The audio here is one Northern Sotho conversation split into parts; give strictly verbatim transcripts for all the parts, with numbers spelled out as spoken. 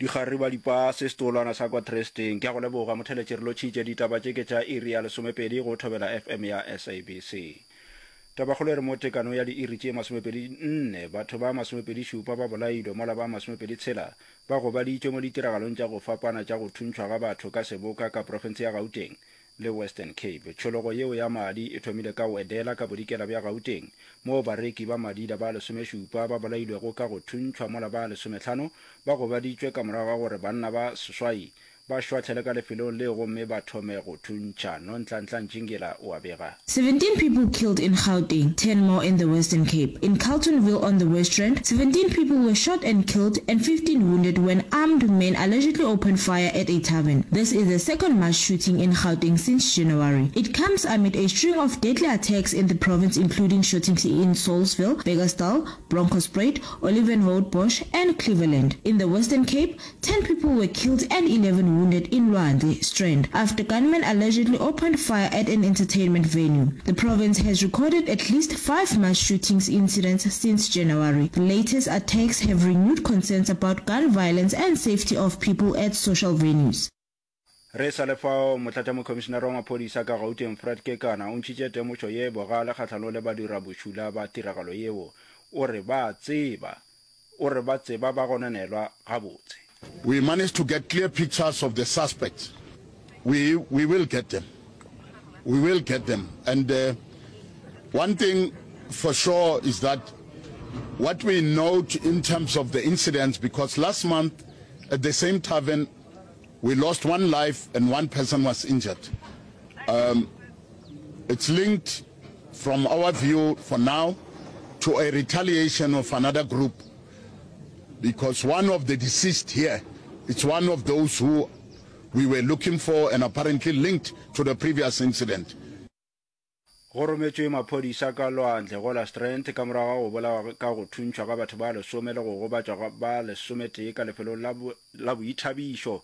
Dikgarebe dipase setolwana sa kwa Tresteng. Ke a go leboga motheletši re lotšhitše ditaba tše ke tša iri ya lesomepedi go Thobela FM ya SABC. Tabakgolo e re mo tekano ya diiri tše masomepedi nne batho ba masomepedi šupa ba bolailwe mola ba masomepedi tshela ba gobaditšwe mo ditiragalong tša go fapana tša go thuntšhwa ga batho ka seboka ka profense ya Gauteng le Western Cape. Tšhologo yeo ya madi e thomile ka Wedela ka bodikela bja Gauteng moo bareki ba madila ba lesomešupa ba bolailwego ka go thuntšhwa mola ba lesomehlano ba gobaditšwe ka morago ga gore banna ba seswai ba šwahlele ka lefelong leo gomme ba thome go thuntšha. Nonhlanhla Ntšingila o a bega. Seventeen people killed in Gauteng, ten more in the Western Cape. In Carltonville on the West Rand, seventeen people were shot and killed and fifteen wounded when armed men allegedly opened fire at a tavern. This is the second mass shooting in Gauteng since January. It comes amid a string of deadly attacks in the province including shootings in Saulsville, Bekkersdal, Bronkhorstspruit, Olievenhoutbosch and Cleveland. In the Western Cape, ten people were killed and eleven wounded in Lwandle, Strand, after gunmen allegedly opened fire at an entertainment venue. The province has recorded at least five mass shootings incidents since January. The latest attacks have renewed concerns about gun violence and safety of people at social venues. Re sa le fao, Motlatšamokhomišenare wa maphodisa ka Gauteng Fred Kekana o ntšhitše temošo ye bogale kgahlanong le badirabošula ba tiragalo yeo. O re ba tseba o re ba tseba ba gononelwa gabotse. We managed to get clear pictures of the suspects. We, we will get them. We will get them. And uh, one thing for sure is that what we note in terms of the incidents, because last month at the same tavern, we lost one life and one person was injured. Um, it's linked, from our view for now, to a retaliation of another group, because one of the deceased here, it's one of those who we were looking for and apparently linked to the previous incident. Go rometšwe maphodisa ka lwandle go la Strand ka morago ga go bolawa ka go thuntšhwa ga batho ba lesome le go gobatšwa ga ba lesometee ka lefelong la la boithabišo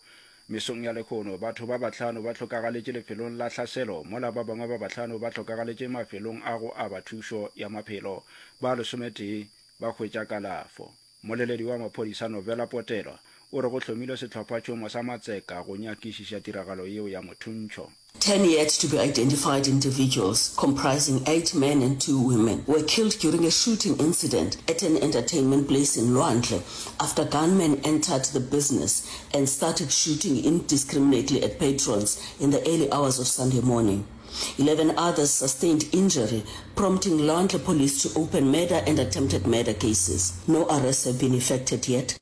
mesong ya lehono. Batho ba bahlano ba hlokagaletše lefelong la hlaselo mola ba bangwe ba bahlano ba hlokagaletše mafelong a go aba thušo ya maphelo. Ba lesometee ba hwetša kalafo. Mmoleledi wa maphodisa Novela Potelwa o re go hlomilwe sehlophatšhomo sa matseka go nyakišiša tiragalo yeo ya mothuntšho. Ten yet to be identified individuals, comprising eight men and two women, were killed during a shooting incident at an entertainment place in Lwandle after gunmen entered the business and started shooting indiscriminately at patrons in the early hours of Sunday morning. Eleven others sustained injury, prompting Lwandle police to open murder and attempted murder cases. No arrests have been effected yet.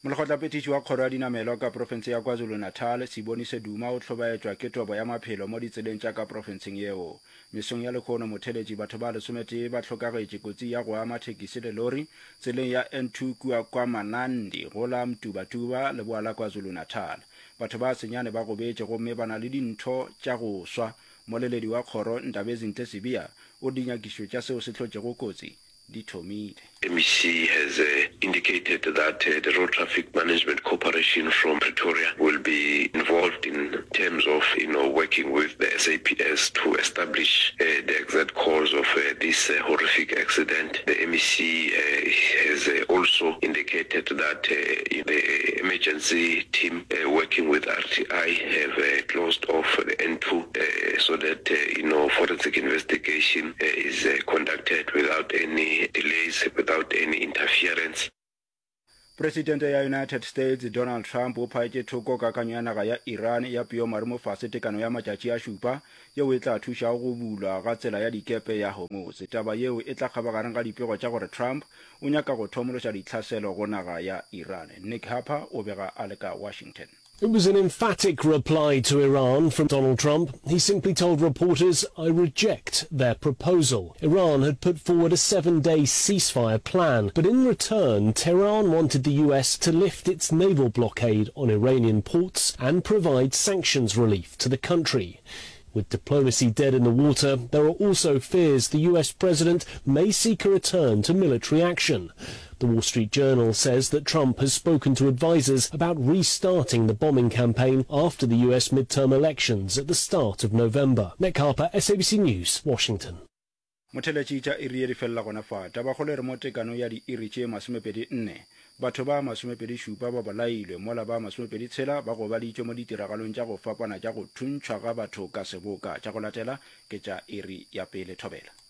Molekgotlaphethiši wa Kgoro ya Dinamelwa ka profense ya KwaZulu-Natal, Siboniso Duma o hlobaetšwa ke tobo ya maphelo mo ditseleng tša ka profenseng yeo. Mesong ya lehono motheletši batho ba lesometee ba hlokagetše kotsi ya go ama thekisi le lori tseleng ya N two kua KwaManandi go la Mtubatuba, leboa la KwaZulu-Natal. Batho ba senyane ba gobetše gomme ba na le dintho tša go swa. Mmoleledi wa kgoro, Ndabezinhle Sibiya, o re dinyakišišo tša seo se hlotšego kotsi di thomile. MEC has indicated that the Road Traffic Management Corporation from Pretoria will be involved in terms of you know working with the SAPS to establish the exact cause of this horrific accident. The MEC has also indicated that the emergency team working with RTI have closed off the N two so that you know forensic investigation is conducted without any delays, without any interference. Presidente ya United States Donald Trump o phaetše thoko kakanyo ya naga ya Iran ya peomarumofase tekano ya matšatši a šupa yeo e tla thušago go bulwa ga tsela ya dikepe ya Hormuz. Taba yeo e tla kgabagareng ga dipego tša gore Trump o nyaka go thomološa ditlhaselo go naga ya Iran. Nick Harper o bega a le ka Washington. It was an emphatic reply to Iran from Donald Trump. He simply told reporters, I reject their proposal. Iran had put forward a seven-day ceasefire plan, but in return, Tehran wanted the US to lift its naval blockade on Iranian ports and provide sanctions relief to the country. With diplomacy dead in the water, there are also fears the US president may seek a return to military action. The Wall Street Journal says that Trump has spoken to advisers about restarting the bombing campaign after the US midterm elections at the start of November. Nick Harper, SABC News, Washington. Motheletši tša iri ye di felela gona fa. Tabakgolo e re mo tekano ya diiri tše masomepedi nne, Batho ba masomepedi šupa ba bolailwe mola ba masomepedi tshela ba gobaditšwe mo ditiragalong tša go fapana tša go thuntšhwa ga batho ka seboka. Tša go latela ke tša iri ya pele. Thobela.